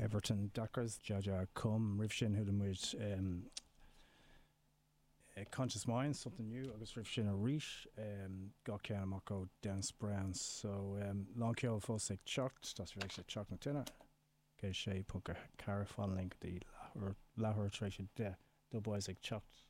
Everton Dacres, Jah Jah Come. Roimh sin chuala muid Conscious Mind, Something New agus roimh sin arís dhá cheann amach ó Dennis Brown. So lán ceoil fós ag teacht, tá sibh ag éisteacht le Teach na Tine, 106.4, fan linn go dtí leathuair tar éis 10, Dubwise ag teacht.